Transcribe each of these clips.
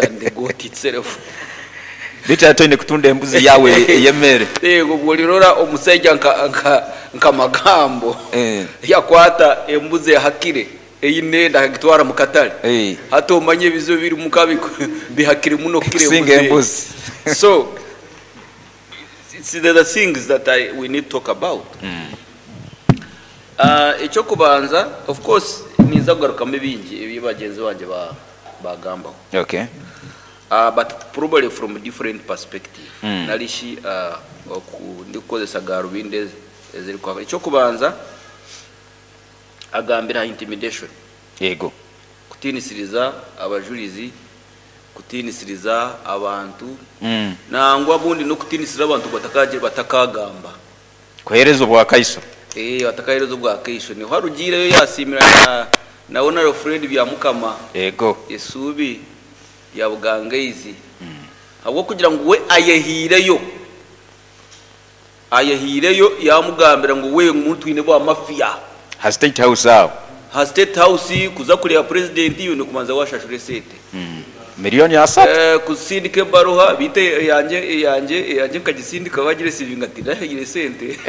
than the goat itself. Beitu hati oine kutunda embuzi yaawe ey'emeere. Yego obu orirora omusaija nka nka nka Magambo yakwata embuzi ehakire eine enda akagitwara mu katare, hati omanye ebizibu ebirimu ka bihakire muno kukira Kusinga embuzi egyo. embuzi. So it's the things that I we need to talk about. Eky'okubanza of course ninza kugarukamu ebingi ebi bagyenzi bangye baagambaho. Okay. But probably from different perspective nari shi oku ndikukozesa garubindi ezirikwaka. Eky'okubanza agambire aha intimidation. Yego. Kutiinisiriza abajurizi, kutiinisiriza abantu, nangwa obundi n'okutiinisiriza abantu ngu batakaagamba. Kuheereza obwakaiso. Eeh batakaheereza obwakaiso. Niho arugiireyo yaasiimira na na Honourable Fred Byamukama Yego. esuubi rya Bugangaizi ahabw'okugira ngu we ayehiireyo. Ayehiireyo yaamugambira ngu we ngu twine bwa mafia. Ha State House aho. Ha State House kuza kureeba Purezidenti oine kubanza waashashura esente. Miliyooni asatu. Kusindika ebaruha, beitu eyangye eyangye eyangye nkagisindika baagiresiivinga tinahaire sente.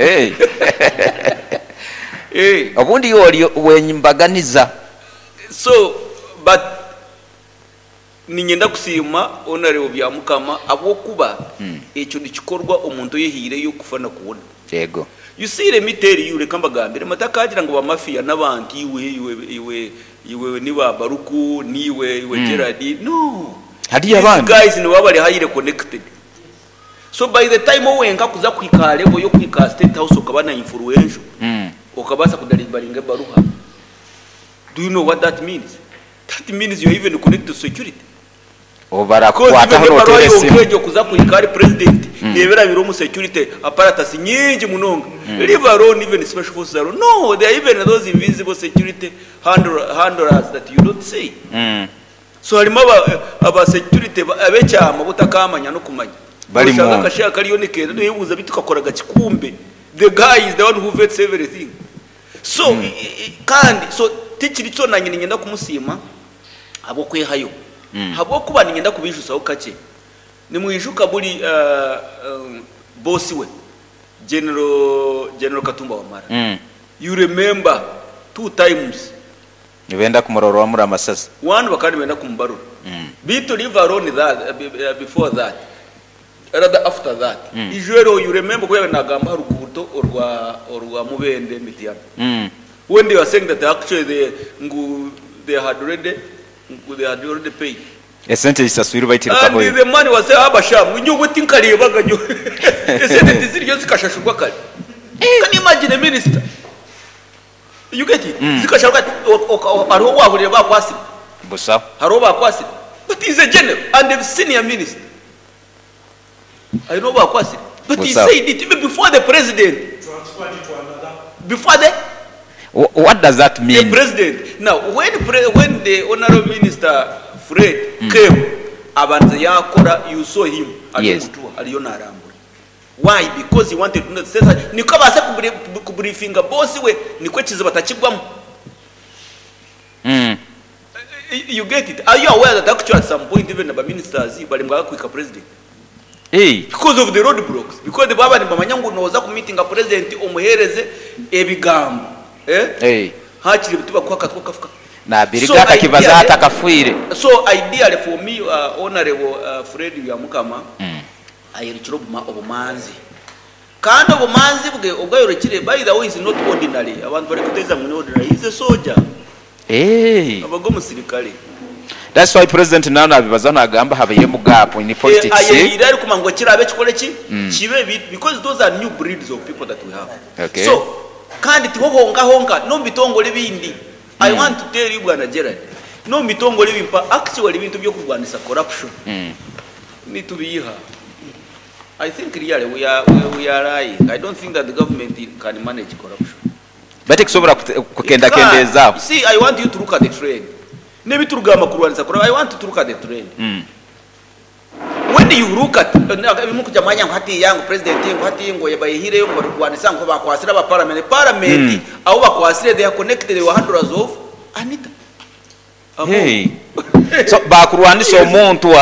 Obundi iwe ori ow'embaganiza. So but Niinyenda kusiima Honourable Byamukama ahabw'okuba ekyo nikikorwa omuntu oyehaireyo kufa na kuwona. Yego. You see let me tell you reka mbagambire mutakagira ngu ba mafia n'abantu iwe iwe iwe iwe ni ba Baruku niiwe iwe Gerald no Hariyo these abandi. guys nibaba bari highly connected so by the time owenka kuza kuhika aha level y'okuhika aha state house okaba na influential okabaasa kudelivaringa ebaruha do you know what that means? That means you're even connected to security. Obu Because barakukwataho even ebaruha nooteera yonka esimu. egyo kuza kuhika ahari president neeba erabire omu security apparatus nyingi munonga. Leave alone even special forces alone. No, there are even those invisible security handle, handlers that you don't see. So harimu aba, aba security ab'ekyama abu otakaamanya n'okumanya. Barimu. Noshanga akashaija kariyo nikeenda noyebuuza beitu kakoraga ki kumbe the guy is the one who vets everything. So kandi so tikiri kyo nanye niinyenda kumusiima ahabw'okwehayo ahabw'okuba niinyenda kubiijusaho kakye. Nimwijuka buri boss we General General Katumba Wamala you remember two times. Nibenda kumurorwamura amasasi. One bakaba nibenda kumubarura beitu leave alone that before that rather after that ijo eryo you remember ku yaabaire naagamba aha ruguuto orwa orwa Mubende Mityana when they were saying that actually they ngu they had already ngu they had already paid Esente zisaswirwe baitu and rikahoyo. the man was saying abasha ngu nyowe tinkareebaga nyowe esente tiziriyo zikashashurwa kare can you imagine a minister you get it zikasharwa hariho owaahurire baakwasire Busaho. hariho baakwasire but he is a general and a senior minister Aine obu akwatsire but he Busaho. said it even before the president before the What does that the mean? president now when pre, when the honorable minister Fred came abanza yakora you saw him ari Yes. omutuha ariyo narambura why because he wanted to know sasa nikwo abaase kubriefinga boss we nikwo ekizibu atakigwamu You get it? Are you aware that actually at some point even ba ministers baremwaga kuhika president because of the road blocks because baba nibamanya ngu noza ku meetinga president omuhereze ebigambo eh? Hakiri tibakuha akatwe okafuka. Nabiriga So akakibaza ideally, hati akafiire. so ideally for me uh, honorable uh, Fred Byamukama ayerekire obuma obumanzi Kandi obumanzi bwe obu ayorekire, by the way is not ordinary, abantu barikuteeza ngu ni ordinary, he is a soldier, abaga omusirikare. That's why president nawe nabibazaho nagamba habairemu gap in politics. Ayehaire arikumanya ngu ekiraabe kikore ki? Kibe because those are new breeds of people that we have. Okay. So kandi tiho honka honka n'omu bitongore ebindi. I want to tell you Bwana Gerald, n'omu bitongore ebi mpa actually ebintu eby'okurwanisa corruption nitubiiha. I think really we are we are lying I don't think that the government can manage corruption. Beitu tikusobora It can't. kukendakendeezaaho. You see I want you to look at the trend. N'ebiturikugamba kurwanisa corruption I want you to look at the trend. When you look at ebi murikugira mwanya ngu hatiiya ngu president ngu hati ngu bayihireyo ngu barikurwanisa ngu bakwatsire aba parliament. Parliament abu bakwatsire they are connected they were handlers of Anita Among. So baakurwanisa omuntu.